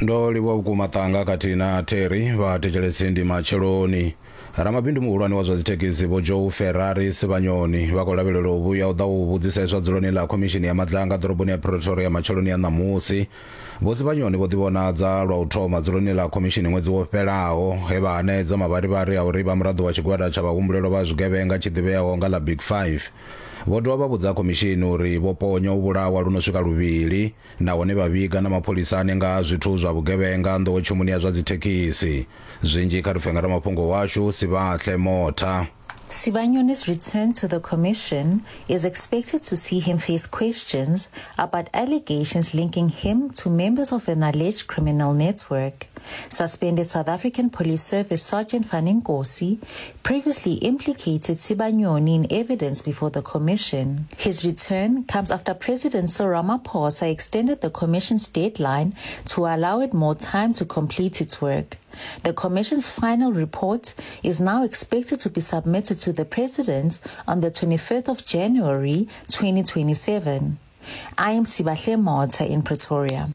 Ndo livhuwa vhukuma Ṱanga khathihi na Terry. Vha thetshelesi ndi matsheloni. Ramabindu muhulwane wa zwa dzithekhisi Vho Joe Ferrari Sibanyoni vha khou lavhelelwa u vhuya u ḓa u vhudziseswa dzuloni ḽa khomishini ya Madlanga ḓoroboni ya Pretoria matsheloni a ṋamusi. Vho Sibanyoni vho ḓivhonadza lwa u thoma dzuloni ḽa khomishini ṅwedzi wo fhelaho he vha hanedza mavharivhari a uri vha muraḓo wa tshigwada tsha vhahumbulelwa vha zwigevhenga tshi ḓivheaho nga ḽa Big Five. Vho dovha vha vhudza khomishini uri vho ponya u vhulawa lu no swika luvhili nahone vha vhiga na mapholisani nga ha zwithu zwa vhugevhenga nḓowetshumoni ya zwa dzithekhisi. Zwinzhi kha ri pfe nga ramafhungo washu Sivhahle Motha. Sibanyoni's return to the commission is expected to see him face questions about allegations linking him to members of an alleged criminal network. Suspended South African Police Service Sergeant Fani Nkosi previously implicated Sibanyoni in evidence before the commission. His return comes after President Cyril Ramaphosa extended the commission's deadline to allow it more time to complete its work. The commission's final report is now expected to be submitted to the president on the 25th of January 2027. I am Sibahle Motha in Pretoria.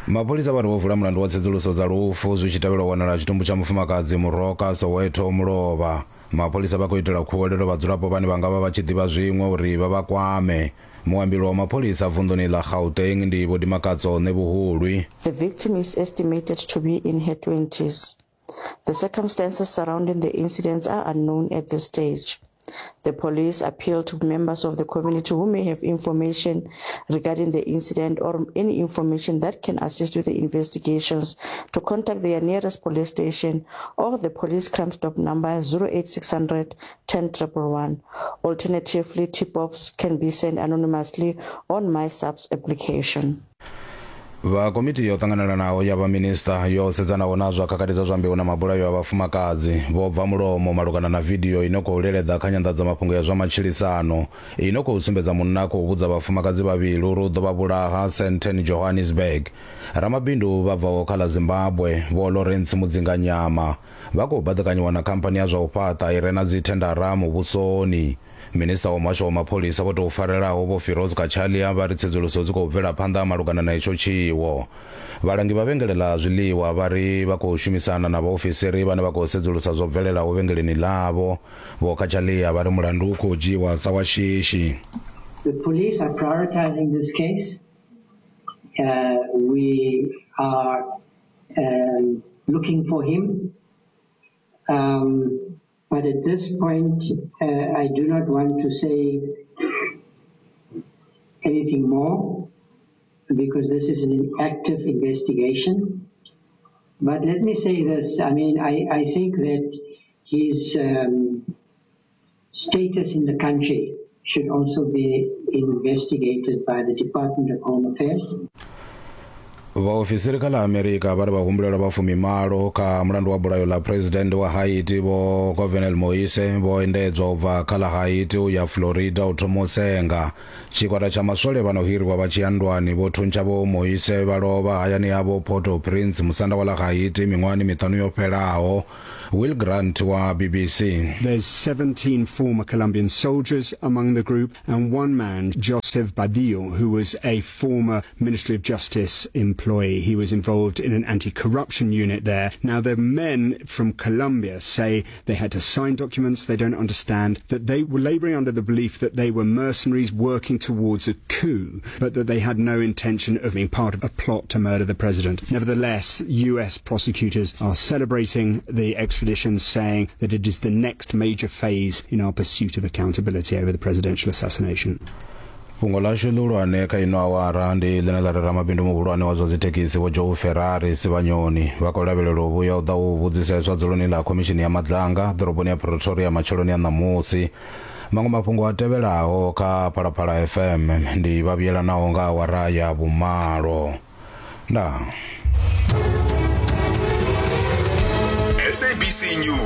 Mapholisa vha ri vho vula mulandu wa tsedzuluso dza lufu zwi tshi tevhela u wanala tshitumbu tsha mufumakadzi Muroka Soweto Mulovha. Mapholisa vha khou itela khuwelelo vhadzulapo vhane vha nga vha vha tshi ḓivha zwiṅwe uri vha vha kwame. Muambeli wa mapholisa vunḓuni ḽa Gauteng ndi Vho Dimakatso Ṋevhuhulwi. The victim is estimated to be in her 20s. The circumstances surrounding the incidents are unknown at this stage. The police appeal to members of the community who may have information regarding the incident or any information that can assist with the investigations to contact their nearest police station or the police crime stop number 08600 10111. Alternatively, tip-offs can be sent anonymously on MySAPS application. Vha komiti yo ṱanganelanaho ya vha minisiṱa yo sedzanaho na zwa khakhathi dza zwa mbeu na mabulayo a vhafumakadzi vho bva mulomo malugana na vidio ino khou leleḓa kha nyanḓadzamafhungo ya zwa matshilisano ino khou sumbedza munna a khou vhudza vhafumakadzi vhavhili uri u ḓo vha vhulaha Sandton, Johannesburg. Ramabindu vha bvaho kha ḽa Zimbabwe, Vho Lawrence Mudzinganyama, vha khou baḓekanyiwa na khamphani ya zwa u fhaṱa i re na dzithendara muvhusoni. Minisiṱa wa Muhasho wa Mapholisa vho tou farelaho Vho Firoz Cachalia vha ri tsedzuluso dzi khou bvela phanḓa malugana na itsho tshiwo. Vhalangi vha vhengele ḽa zwiḽiwa vha ri vha khou shumisana na vhaofisiri vhane vha khou sedzulusa zwo bvelelaho vhengeleni ḽavho. Vho Cachalia vha ri mulandu u khou dzhiiwa sa wa shishi. The police are prioritizing this case. Uh, we are um, looking for him. Um, but at this point, uh, I do not want to say anything more because this is an active investigation. But let me say this I mean, I, I think that his um, status in the country should also be investigated by the Department of Home Affairs. Vhaofisiri kha ḽa Amerika vha ri vhahumbulelwa vha fumimalo kha mulandu wa bulayo ḽa phuresidennde wa Haiti Vho Jovenel Moise vho endedzwa u bva kha ḽa Haiti u ya Florida u thoma u senga. Tshigwada tsha maswole vha no hiriwa vha tshi ya nndwani vho thuntsha Vho Moise vha lovha hayani havho Port-au-Prince, musanda wa ḽa Haiti miṅwahani miṱanu yo fhelaho. Will Grant wa BBC. There's 17 former Colombian soldiers among the group and one man, Joseph Badillo, who was a former Ministry of Justice employee. He was involved in an anti-corruption unit there. Now, the men from Colombia say they had to sign documents they don't understand, that they were laboring under the belief that they were mercenaries working towards a coup, but that they had no intention of being part of a plot to murder the president. Nevertheless, U.S. prosecutors are celebrating the extradition, saying that it is the next major phase in our pursuit of accountability over the presidential assassination. Fhungo ḽashu ḽihulwane kha ino awara ndi ḽine ḽa ri ramabindu muhulwane wa zwa dzithekhisi Vho Joe Ferrari Sibanyoni vha khou lavhelelwa u vhuya u ḓa u vhudziseswa dzuloni ḽa khomishini ya Madlanga ḓoroboni ya Pretoria matsheloni a ṋamusi. Maṅwe mafhungo a tevhelaho kha Phalaphala FM ndi vha vhuyelanaho nga awara ya vhumalo. Ndaa. SABC News.